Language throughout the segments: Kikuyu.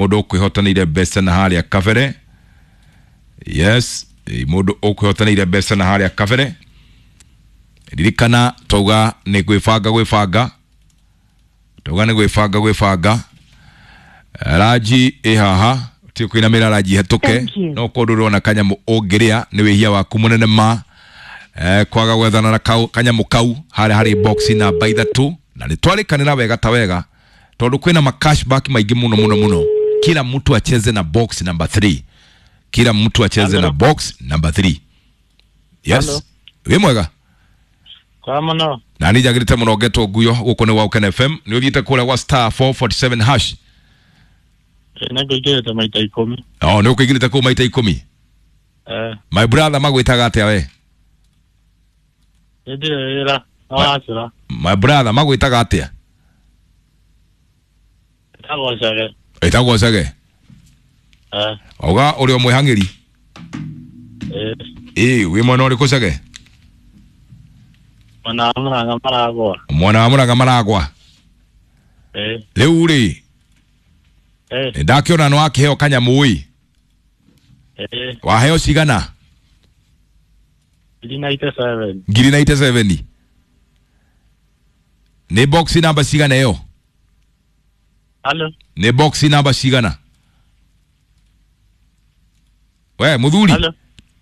Mũndũ ũkwĩhotanĩire mbeca na harĩa kabere. Yes, mũndũ ũkwĩhotanĩire mbeca na harĩa kabere. Ririkana twauga nĩ gwĩbanga gwĩbanga, twauga nĩ gwĩbanga gwĩbanga. Ranji ĩ haha ti kũinamĩra ranji hetũke. Thank you. No korwo ndũrona kanyamũ ũngĩrĩa nĩ wĩhia waku mũnene ma kwaga gwethana na kanyamũ kau harĩa harĩ box namba 3, na nĩ twarĩkanĩra wega ta wega tondũ kwĩna ma cashback maingĩ mũno mũno mũno. Kila mtu acheze na box number 3, kila mtu acheze Hello. na box number 3. Yes. Hello. Wĩ mwega? Kwa mũno. Na nĩ njagĩrĩte mũno ngetwo nguyo gũkũ nĩ Waũkena FM. Nĩ ũthiĩte kũrĩa gwa star 447 hash? Nĩ ngũingĩrĩte maita 10. Oh, nĩ ũkũingĩrĩte kũu maita 10? Eh. My brother, magwĩtaga atĩa we? Nĩ ndirĩ wĩra no wacĩra. My brother, magwĩtaga atĩa? Ĩtagwo Chege. Ĩtagwo Chege? Eh. Wauga ũrĩ o mwĩhang'ĩri? Eh. Ĩ wĩ mwena ũrĩkũ, Chege? Mwena wa Mũrang'a Maragwa. Mwena wa Mũrang'a Maragwa? Eh. Rĩu rĩ, Eh. nĩ ndakĩona nĩ wakĩheo kanyamũ ĩ. Eh. Waheo cigana? 97. Ngiri 97. Nĩ box namba cigana ĩyo? Halo. Nĩ box namba cigana we mũthuri? Halo.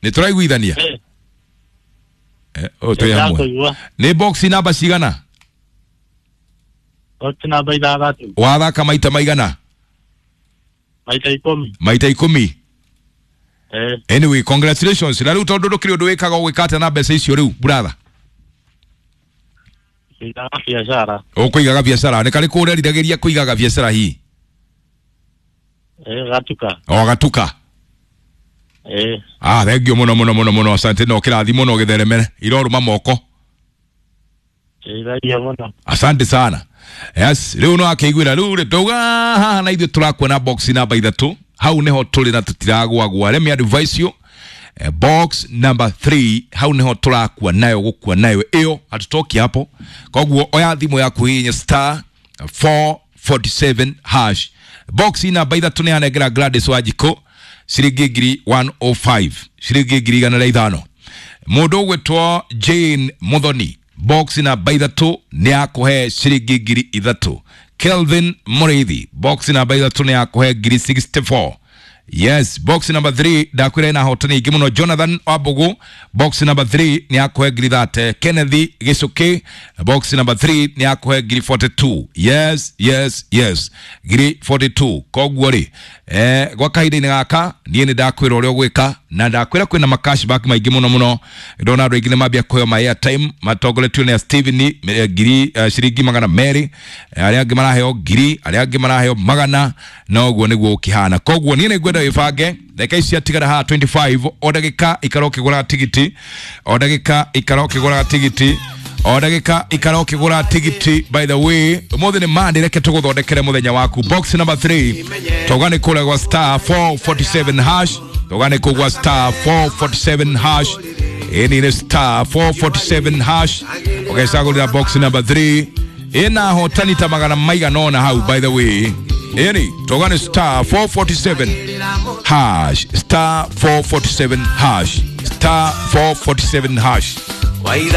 Nĩ tũraiguithania? Eh. Eh, oh, twĩ hamwe. Ndakũigua. Nĩ box namba cigana? Box namba 6. Wathaka maita maigana? Maita 10. Maita 10? Eh. Anyway, congratulations. Na rĩu tondũ ndũkĩrĩ ũndũ wĩkaga, ũgwĩka atĩa na mbeca icio rĩu, brother? Kũigaga biacara. Ũkũigaga biacara? Nĩ karĩkũ ũreriragĩria kũigaga biacara hihi? Eh, gatuka. O gatuka? Eh. Ah, thank you mũno mũno mũno mũno, asante. No kĩrathi mũno gĩtheremere irorũma moko. Ĩthagia mũno. Asante sana. Yes, rĩu no akĩiguĩra rĩu rĩ tauga haha na ithuĩ tũrakuona box namba 3 hau nĩho tũrĩ na tũtiragwagwa. Let me advise you, box number 3 hau nĩho tũrakua nayo gũkua nayo ĩyo, hatutoki hapo. Koguo oya thimũ yaku, hihinya star 447 hash. Box namba 3 nĩ yanengera Gladys Wanjikũ ciringi ngiri 105, ciringi ngiri 105. Mũndũ ũgwĩtwo Jane Muthoni, box namba 3 nĩ akũhe ciringi ngiri 3. Kelvin Mũrĩithi, box namba 3 nĩ akũhe ngiri 64. Yes, box number 3 ndakwĩra ĩna ahotani aingĩ mũno. Jonathan Wambugu, box number 3 nĩ akũhe ngiri 30. Kenneth Gĩcũkĩ, box number 3 nĩ akũhe ngiri 42. Yes, yes, yes, ngiri 42. Koguo rĩ, gwa kahinda-inĩ gaka niĩ nĩ ndakwĩra ũrĩa ũgwĩka na ndakwĩra kwĩna ma cashback maingĩ mũno mũno. Ndona andũ aingĩ nĩ mambia kũheo ma airtime matongoretio nĩ Steven, ngiri, ciringi 200, arĩa angĩ maraheo ngiri, arĩa angĩ maraheo magana, na ũguo nĩguo ũkĩhana. Koguo niĩ nĩ ngwenda wĩbange. Ndagĩka ici ciatigara haha 25, o ndagĩka ikara ũkĩgũraga tigiti, o ndagĩka ikara ũkĩgũraga tigiti, o ndagĩka ikara ũkĩgũra tigiti. By the way, ũmũthĩ nĩ Monday, reke tũgũthondekere mũthenya waku. Box number 3, tauga nĩ kũrĩa gwa star 447 hash, tauga nĩ kũu gwa star 447 hash. Ĩni nĩ star 447 hash, ũgecagũrĩra box number 3 ĩna hotani ta magana maigana ũna hau. By the way, ĩni tauga nĩ star 447 hash, star 447 hash, star 447 hash. Waitha.